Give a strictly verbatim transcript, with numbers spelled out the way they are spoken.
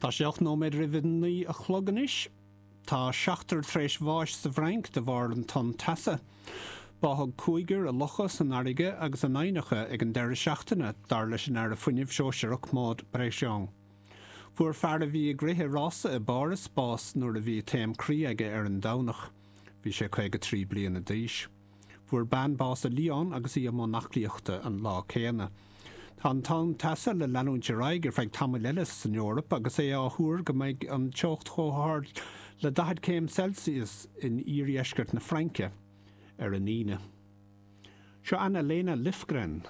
Tá sé ocht nóiméad roimh a naoi a chlog anois. Tá seachtar tar éis bháis sa bhFrainc de bharr an tonn teasa. Báthadh cúigear i locha san fharraige agus in aibhneacha ag an deireadh seachtaine, dar leis an Aire Fuinnimh Sóisearach Maud Bregeon. Fuair fear a bhí ag rith i rása i bPáras bás nuair a bhí taom croí aige ar an Domhnach. Bhí sé caoga trí bliana d'aois. Fuair bean bás i Lyon agus í i mbun aclaíochta an lá céanna. Tá an tonn teasa le leanúint ar aghaidh ar feadh tamaill eile san Eoraip agus é á thuar go mbeidh an teocht chomh hard le daichead céim Celsius in iardheisceart na Fraince ar an Aoine. Seo Anna Lena Löfgren.